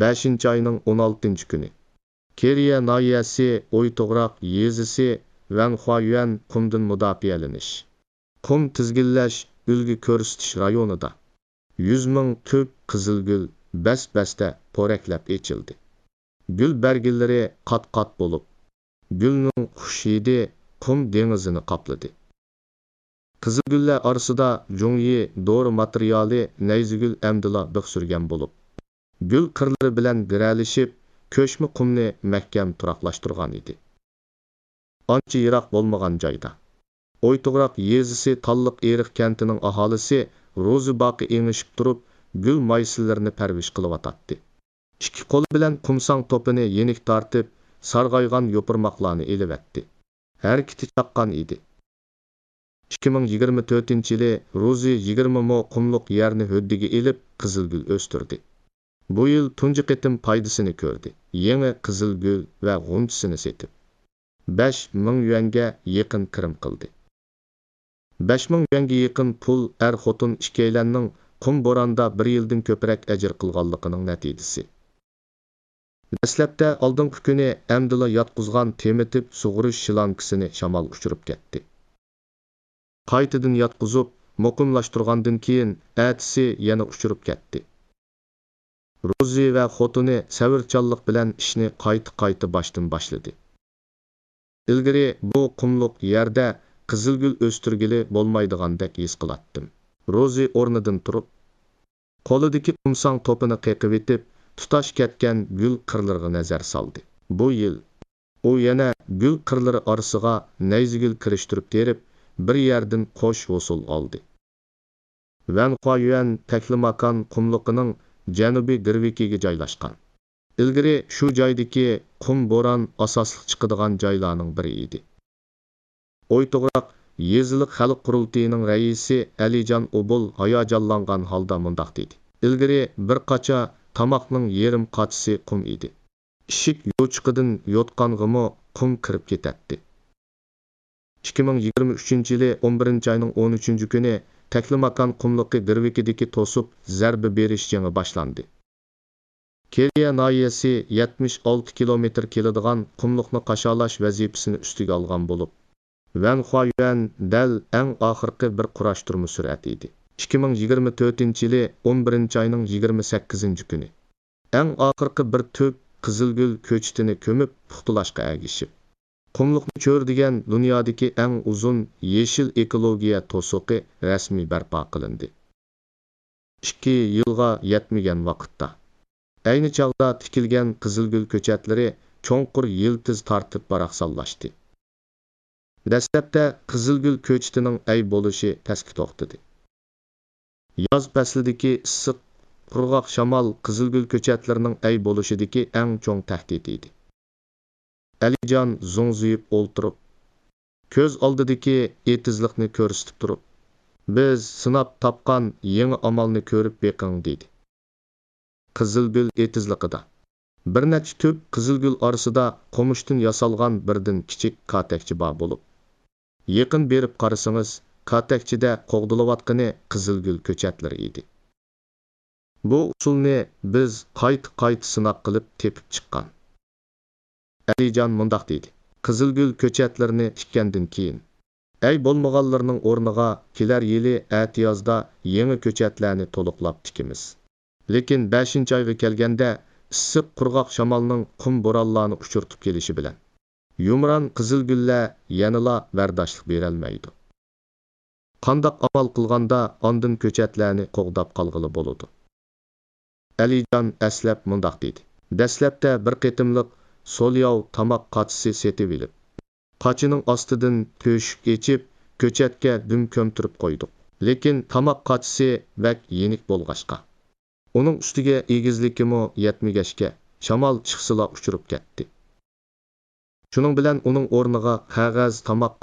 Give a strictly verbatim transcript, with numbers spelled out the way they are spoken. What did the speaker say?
بەشىنچى ئاينىڭ ئون ئالتىنچى كۈنى. كېرىيە ناھىيەسى ئويتوغراق يېزىسى ۋەنخۇايۈەن قۇمدىن مۇداپىئەلىنىش، قۇم تىزگىنلەش، ئۈلگە كۆرسىتىش رايونىدا يۈز مىڭ تۈپ قىزىلگۈل بەس-بەستە پورەكلەپ ئېچىلدى. گۈل بەرگىلىرى قات-قات بولۇپ، گۈلنىڭ خۇش ھىدى قۇم دېڭىزىنى قاپلىدى. قىزىلگۈللەر ئارىسىدا جۇڭيى دورا ماتېرىيالى نەيزىگۈل ئەمدىلا بىخ سۈرگەن بولۇپ، گۈل قىرلىرى بىلەن گىرەلىشىپ، كۆچمە قۇمنى مەھكەم تۇراقلاشتۇرغان ئىدى. ئانچە يىراق بولمىغان جايدا، ئويتوغراق يېزىسى تاللىق ئېرىق كەنتىنىڭ ئاھالىسى روزى باقى ئېڭىشىپ تۇرۇپ، گۈل مايسىلىرىنى پەرۋىش قىلىۋاتاتتى. ئىككى قولى بىلەن قۇمساڭ توپىنى يېنىك تارتىپ، سارغايغان يوپۇرماقلارنى ئېلىۋەتتى. ھەرىكىتى چاققان ئىدى. ئىككى مىڭ يىگىرمە تۆتىنچى يىلى روزى يىگىرمە مو قۇملۇق يەرنى ھۆددىگە ئېلىپ، قىزىلگۈل ئۆستۈردى. بۇ يىل تۇنجى قېتىم پايدىسىنى كۆردى. يېڭى قىزىلگۈل ۋە غۇنچىسىنى سېتىپ، بەش مىڭ يۈەنگە يېقىن كىرىم قىلدى. بەش مىڭ يۈەنگە يېقىن پۇل ئەر-خوتۇن ئىككىيلەننىڭ قۇم بوراندا بىر يىلدىن كۆپرەك ئەجىر قىلغانلىقىنىڭ نەتىجىسى. دەسلەپتە ئالدىنقى كۈنى ئەمدىلا ياتقۇزغان تېمىتىپ سۇغۇرۇش شلانكىسىنى شامال ئۇچۇرۇپ كەتتى. قايتىدىن ياتقۇزۇپ، مۇقىملاشتۇرغاندىن كېيىن، ئەتىسى يەنە ئۇچۇرۇپ كەتتى. روزى ۋە خوتۇنى سەۋرچانلىق بىلەن ئىشنى قايتا-قايتا باشتىن باشلىدى. ئىلگىرى بۇ قۇملۇق يەردە قىزىلگۈل ئۆستۈرگىلى بولمايدىغاندەك ھېس قىلاتتىم. روزى ئورنىدىن تۇرۇپ، قولىدىكى قۇمساڭ توپىنى قېقىۋېتىپ، تۇتاش كەتكەن گۈل قىرلىرىغا نەزەر سالدى. بۇ يىل ئۇ يەنە گۈل قىرلىرى ئارىسىغا نەيزىگۈل كىرىشتۈرۈپ تېرىپ، بىر يەردىن قوش ھوسۇل ئالدى. ۋەنخۇايۈەن تەكلىماكان قۇملۇقىنىڭ جەنۇبىي گىرۋىكىگە جايلاشقان. ئىلگىرى شۇ جايدىكى قۇم بوران ئاساسلىق چىقىدىغان جايلارنىڭ بىرى ئىدى. ئويتوغراق يېزىلىق خەلق قۇرۇلتىيىنىڭ رەئىسى ئەلىجان ئوبۇل ھاياجانلانغان ھالدا مۇنداق دېدى: ئىلگىرى بىر قاچا تاماقنىڭ يېرىم قاچىسى قۇم ئىدى. ئىشىك يوچۇقىدىن يوتقانغىمۇ قۇم كىرىپ كېتەتتى. ئىككى مىڭ يىگىرمە ئۈچىنچى يىلى ئون بىرىنچى ئاينىڭ ئون ئۈچىنچى كۈنى تەكلىماكان قۇملۇقى گىرۋىكىدىكى توسۇپ زەربە بېرىش جېڭى باشلاندى. كېرىيە ناھىيەسى يەتمىش ئالتە كىلومېتىر كېلىدىغان قۇملۇقنى قاشالاش ۋەزىپىسىنى ئۈستىگە ئالغان بولۇپ، ۋەنخۇايۈەن دەل ئەڭ ئاخىرقى بىر قۇراشتۇرما سۈرئەتى ئىدى. ئىككى مىڭ يىگىرمە تۆتىنچى يىلى ئون بىرىنچى ئاينىڭ يىگىرمە سەككىزىنچى كۈنى، ئەڭ ئاخىرقى بىر تۈپ قىزىلگۈل كۆچىتىنى كۆمۈپ پۇختىلاشقا ئەگىشىپ، قۇملۇقنى چۆرىدىگەن دۇنيادىكى ئەڭ ئۇزۇن يېشىل ئېكولوگىيە توسۇقى رەسمىي بەرپا قىلىندى. ئىككى يىلغا يەتمىگەن ۋاقىتتا، ئەينى چاغدا تىكىلگەن قىزىلگۈل كۆچەتلىرى چوڭقۇر يىلتىز تارتىپ باراقسانلاشتى. دەسلەپتە قىزىلگۈل كۆچىتىنىڭ ئەي بولۇشى پەسكە توختىدى. ياز پەسلىدىكى ئىسسىق، قۇرغاق شامال قىزىلگۈل كۆچەتلىرىنىڭ ئەي بولۇشىدىكى ئەڭ چوڭ تەھدىت ئىدى. ئەلىجان زوڭزىيىپ ئولتۇرۇپ، كۆز ئالدىدىكى ئېتىزلىقنى كۆرسىتىپ تۇرۇپ، بىز سىناپ تاپقان يېڭى ئامالنى كۆرۈپ بېقىڭ، دېدى. قىزىلگۈل ئېتىزلىقىدا بىر نەچچە تۈپ قىزىلگۈل ئارىسىدا قومۇشتىن ياسالغان بىردىن كىچىك كاتەكچە بار بولۇپ، يېقىن بېرىپ قارىسىڭىز، كاتەكچىدە قوغدىلىۋاتقىنى قىزىلگۈل كۆچەتلىرى ئىدى. بۇ ئۇسۇلنى بىز قايتا-قايتا سىناق قىلىپ تېپىپ چىققان. ئەلىجان مۇنداق دېدى: قىزىلگۈل كۆچەتلىرىنى تىككەندىن كېيىن، ئەي بولمىغانلىرىنىڭ ئورنىغا كېلەر يىلى ئەتىيازدا يېڭى كۆچەتلەرنى تولۇقلاپ تىكىمىز. لېكىن بەشىنچى ئايغا كەلگەندە، ئىسسىق قۇرغاق شامالنىڭ قۇم بورانلارنى ئۇچۇرتۇپ كېلىشى بىلەن، يۇمران قىزىلگۈللەر يەنىلا بەرداشلىق بېرەلمەيدۇ. قانداق ئامال قىلغاندا ئاندىن كۆچەتلەرنى قوغداپ قالغىلى بولىدۇ؟ ئەلىجان ئەسلەپ مۇنداق دېدى: دەسلەپتە بىر قېتىملىق سولياۋ تاماق قاچىسى سېتىۋېلىپ، قاچىنىڭ ئاستىدىن تۆشۈك ئېچىپ، كۆچەتكە دۈم كۆمتۈرۈپ قويدۇق. لېكىن تاماق قاچىسى بەك يېنىك بولغاچقا، ئۇنىڭ ئۈستىگە ئېگىزلىكىمۇ يەتمىگەچكە، شامال چىقسىلا ئۇچۇرۇپ كەتتى. شۇنىڭ بىلەن ئۇنىڭ ئورنىغا قەغەز تاماق